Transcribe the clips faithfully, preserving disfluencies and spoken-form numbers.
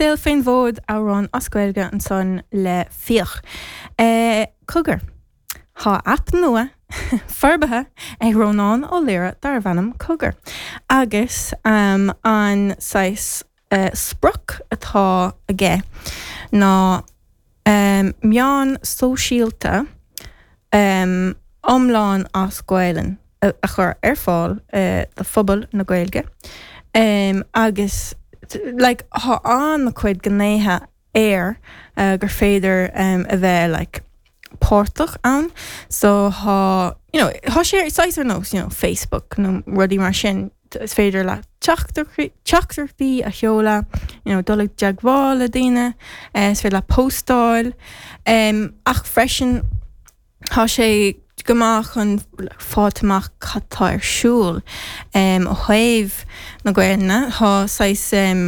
Saol Fén bhFód amhrán as Gaeilge ansan le Fiach. Uh, Cogar. Tá app nua forbartha ag Rónán Ó Laoire darb ainm Cogar. Agus um, an saghas uh, sprioc atá aige ná um, meán sóisialta um, iomlán as Gaelainn a, a chur ar fáil uh, do phobal na Gaeilge. Um, agus like, tá an-chuid gnéithe air uh, gur féidir um, a bheith like, páirteach ann so tá you know, tá sé saghas ar nós you know, Facebook nó rudaí mar sin is féidir le teachtaireachtaí a sheoladh you know, dul i dteagmháil le daoine uh, is féidir le postáil um, ach freisin tá sé go maith chun fáil amach cad tá ar siúl um, ó thaobh na Gaeilge tá saghas um,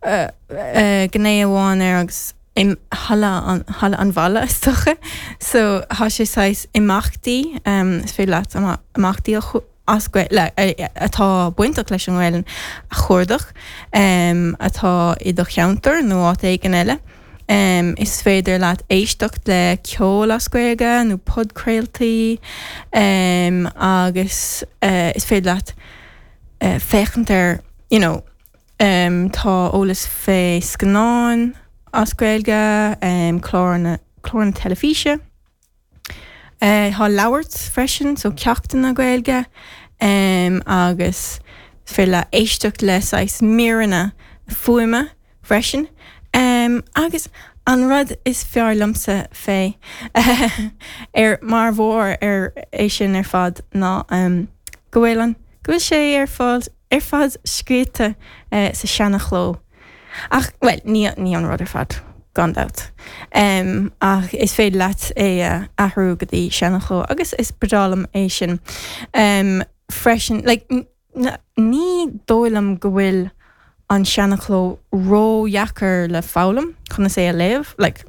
uh, uh, gné amháin air agus im halla an halla an bhaile is dócha so tá sé saghas imeachtaí um, is féidir leat imeachtaí as le atá bainteach leis an nGaeilge a chuardach um, atá i do cheantar nó áit éigin eile. Um, is féidir leat éisteacht le ceol as Gaeilge nó podchraoltaí um, agus uh, is féidir leat uh, féachaint ar you know, um, tá eolas fé scannáin as Gaeilge, um, clár na clár na teilifíse. Uh, Tá labhairt freisin so ceachtanna Gaeilge um, agus féidir le éisteacht le saghas míreanna fuaime freisin. Um, agus an rud is fearr liomsa fé ar mar bharr ar é sin ar fad ná um, go bhfuil an go bhfuil sé ar fáil ar fad scríte uh, sa seanachló. Ach well, ní ní an rud ar fad gan dabht. Um, ach is féidir leat é uh, athrú go dtí seanachló agus is breá liom é sin. Um, freisin like, ní dóigh liom go bhfuil an seanachló ródheacair le foghlaim chun é a léamh like,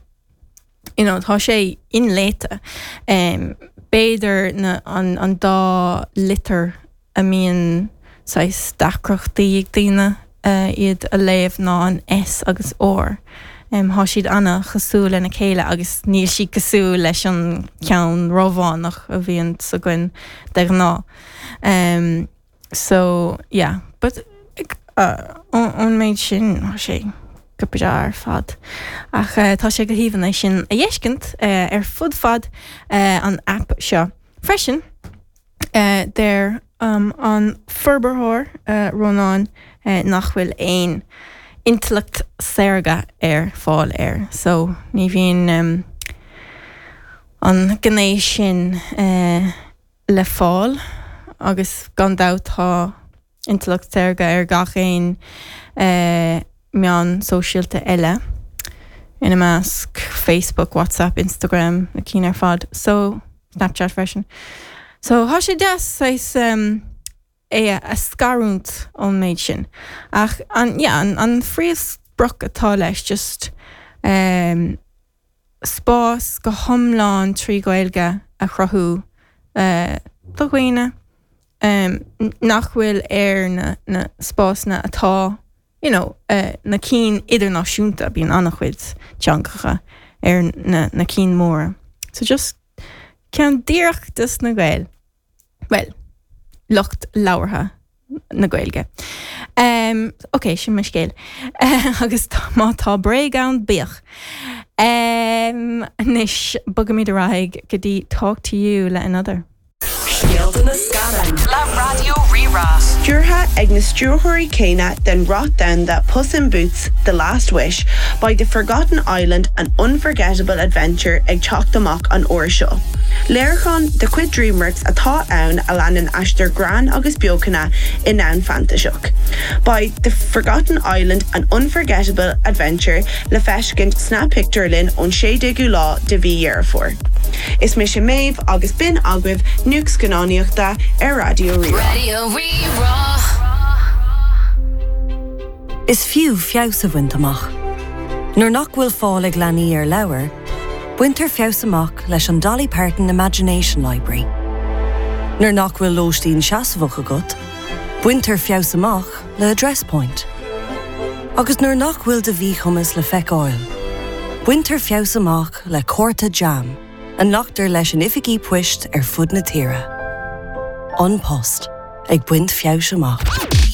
you know, tá sé inléite. Um, B'fhéidir na an, an dá litir a mbíonn saghas deacrachtaí ag daoine uh, iad a léamh ná an S agus R. Um, Tá siad an-chosúil lena chéile agus níl siad cosúil leis an ceann Rómhánach a bhíonn againn de ghnáth. Um, so yeah, but uh, ón méid sin tá sé go breá ar fad. Ach uh, tá sé go haoibhinn é sin a fheiscint uh, ar fud fad uh, an app seo. Freisin uh, deir um, an forbróir uh, Rónán uh, nach bhfuil aon intleacht saorga ar fáil air. So ní bhíonn um, an gné sin uh, le fáil agus gan dabht tá intleacht saorga ar gach aon uh, meán sóisialta eile ina measc Facebook, WhatsApp, Instagram na cinn ar fad, so Snapchat freisin. So tá sé deas um, é a scarúint ón méid sin. Ach an, yeah, an, an phríomhsprioc atá leis just um, spás go hiomlán trí Ghaeilge a chruthú uh, do dhaoine um, nach bhfuil ar na, na spásanna atá you know, uh, na cinn idirnáisiúnta bíonn an-chuid teangacha ar na, na cinn móra. So just ceann díreach dos na Gaeil. Well, lucht labhartha na Gaeilge. Um, ok, sin mo scéal agus má tá bréag ann bíodh. Um, Anois bogaimid ar aghaidh go dtí talk to you le another. Scéalta na Scannán Le Raidió Rí-Rá. Stiúrtha ag na stiúrthóirí céanna den rath domhanda Puss in Boots, The Last Wish, beidh The Forgotten Island an unforgettable adventure ag teacht amach an uair seo. Léiriúchán de chuid DreamWorks atá ann a leanann aistear greann agus beochana i ndomhan fantaiseach. Beidh The Forgotten Island an unforgettable adventure le feiscint sna pictiúrlanna ón sé déagú lá de mhí Dheireadh Fómhair. Is mise Méabh agus b'in agaibh nuacht scannánaíochta ar Raidió Rí-Rá. Raidió Rí-Rá. Is fiú feabhas a bhaint amach. Nuair nach bhfuil fáil ag leanaí ar leabhair, baintear feabhas amach leis an Dolly Parton Imagination Library. Nuair nach bhfuil lóistín seasmhach agat, baintear feabhas amach le Address Point. Agus nuair nach bhfuil do mhíchumas le feiceáil. Baintear feabhas amach le cárta jam, a nglactar leis in oifigí poist ar fud na tíre. An Post ag baint feabhais amach.